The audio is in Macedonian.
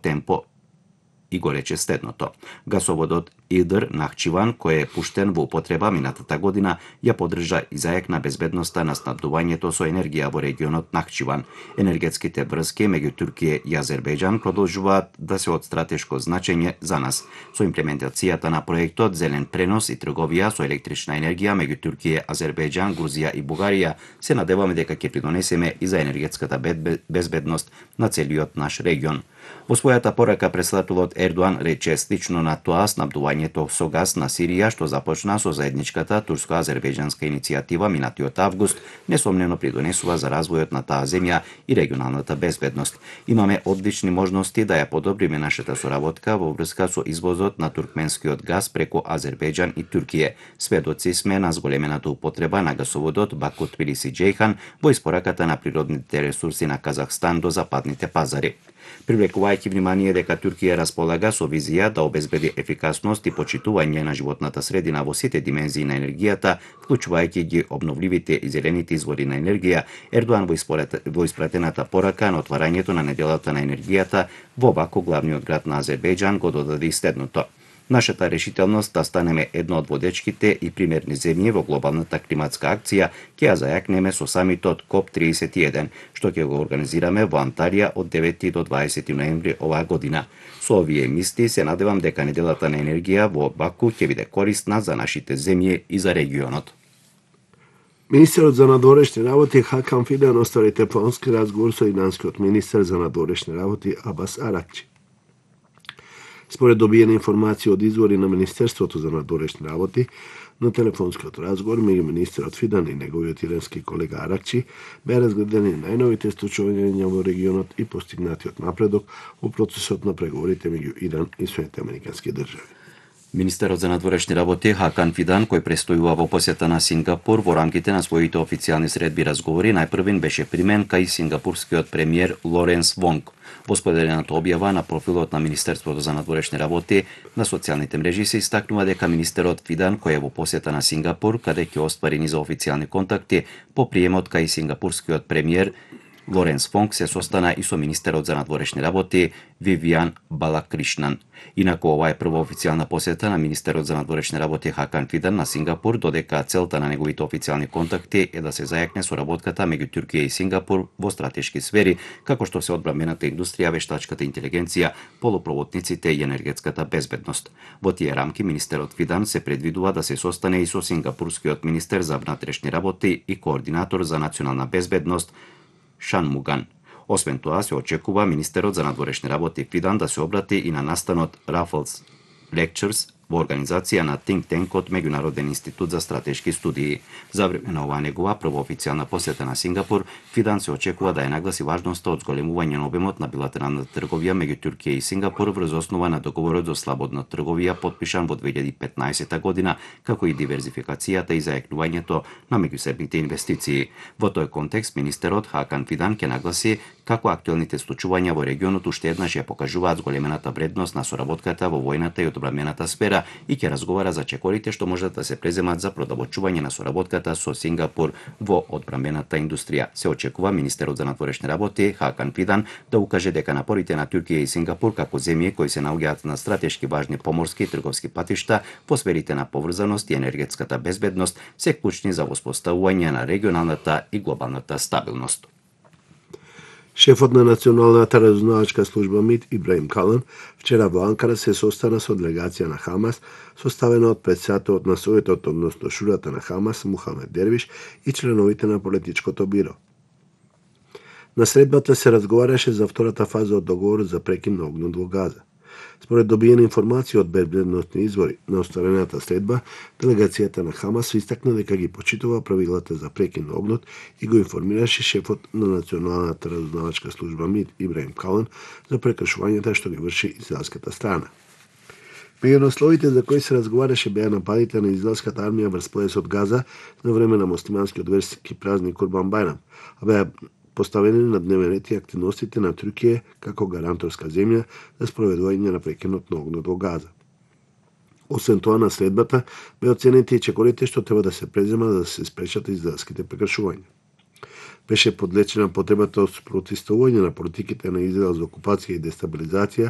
темпо и го рече следното. Гасоводот Идр Нахчиван, кој е пуштен во употреба минатата година, ја поддржа и зајакна безбедноста на снабдувањето со енергија во регионот Нахчиван. Енергетските врски меѓу Туркија и Азербејџан продолжуваат да се од стратешко значење за нас. Со имплементацијата на проектот Зелен пренос и трговија со електрична енергија меѓу Туркија, Азербејџан, Грузија и Бугарија, се надеваме дека ќе придонесеме и за енергетската безбедност на целиот наш регион. Во својата порака председателот Ердоан рече слично на тоа снабдувањето со газ на Сирија, што започна со заедничката турско-азербејџанска иницијатива минатиот август, несомнено придонесува за развојот на таа земја и регионалната безбедност. Имаме одлични можности да ја подобриме нашата соработка во врска со извозот на туркменскиот газ преку Азербејџан и Туркија. Сведоци сме на зголемената употреба на гасоводот Баку Тбилиси Џејхан во испораката на природните ресурси на Казахстан до западните пазари. Привлекувајќи внимание дека Туркија располага со визија да обезбеди ефикасност и почитување на животната средина во сите димензии на енергијата, вклучувајќи ги обновливите и зелените извори на енергија, Ердоан во испратената порака на отварањето на неделата на енергијата во Баку, главниот град на Азербејџан, го додаде следното. Нашата решителност да станеме едно од водечките и примерни земји во глобалната климатска акција ќе ја зајакнеме со самитот КОП-31, што ќе го организираме во Анталија од 9 до 20 ноември оваа година. Со овие мисли се надевам дека неделата на енергија во Баку ќе биде корисна за нашите земји и за регионот. Министерот за надворешни работи Хакан Фидан оствари телефонски разговор со иранскиот министер за надворешни работи Абас Аракчи. Според добиена информација од извори на Министерството за надворешни работи, на телефонскиот разговор меѓу министерот Фидан и неговиот ирански колега Аракчи беа разгледани најновите случувања во регионот и постигнатиот напредок во процесот на преговорите меѓу Иран и Соединетите американски држави. Министерот за надворешни работи Хакан Фидан, кој престојува во посета на Сингапур во рамките на своите официјални средби разговори, најпрвен беше примен кај сингапурскиот премиер Лоренс Вонг. Во споделената објава на профилот на Министерството за надворешни работи на социјалните мрежи се истакнува дека министерот Фидан, кој е во посета на Сингапур, каде ќе оствари низа официјални контакти, по приемот кај сингапурскиот премиер Лоренс Вонг се состана и со министерот за надворешни работи Вивијан Балакришнан. Инаку ова е прва официјална посета на министерот за надворешни работи Хакан Фидан на Сингапур, додека целта на неговите официјални контакти е да се зајакне соработката меѓу Туркија и Сингапур во стратешки сфери, како што се одбранбената индустрија, вештачката интелигенција, полупроводниците и енергетската безбедност. Во тие рамки министерот Фидан се предвидува да се состане и со сингапурскиот министер за внатрешни работи и координатор за национална безбедност Шан Муган. Освен тоа, се очекува министерот за надворешни работи Фидан да се обрати и на настанот Raffles Lectures во организација на Think Tank-от Меѓународен институт за стратешки студии. За време на оваа негова прва официјална посета на Сингапур, Фидан се очекува да ја нагласи важноста од зголемување на обемот на билатералната трговија меѓу Туркија и Сингапур врз основа на договорот за слободна трговија подпишан во 2015 година, како и диверзификацијата и зајакнувањето на меѓусебните инвестиции. Во тој контекст, министерот Хакан Фидан ќе нагласи како актуелните случувања во регионот уште еднаш ја покажуваат зголемената вредност на соработката во војната и одбранбената сфера и ќе разговара за чекорите што можат да се преземат за продолбочување на соработката со Сингапур во одбранбената индустрија. Се очекува министерот за надворешни работи Хакан Фидан да укаже дека напорите на Туркија и Сингапур како земји кои се наоѓаат на стратешки важни поморски и трговски патишта во сферите на поврзаност и енергетската безбедност се клучни за воспоставување на регионалната и глобалната стабилност. Шефот на Националната разузнавачка служба МИД Ибраим Калан вчера во Анкара се состана со делегација на Хамас, составена од председателот на Советот, односно Шурата на Хамас, Мухамед Дервиш, и членовите на политичкото биро. На средбата се разговараше за втората фаза од договорот за прекин на огнот во Газа. Според добиена информација од безбедносни извори на остварената средба, делегацијата на Хамас истакна дека ги почитува правилата за прекин на огнот и го информираше шефот на Националната разузнавачка служба МИД Ибраим Калан за прекршувањата што ги врши израелската страна. Меѓу насловите за кои се разговараше беа нападите на израелската армија врз појасот Газа на време на муслиманскиот верски празник Курбан Бајрам, а беа поставени на дневен ред и активностите на Туркија како гаранторска земја за спроведување на прекинот на огнот во Газа. Освен тоа, на средбата бе оценети и чекорите што треба да се преземат за да се спречат израелските прекршувања. Беше подлечена потребата од спротивставување на политиките на Израел за окупација и дестабилизација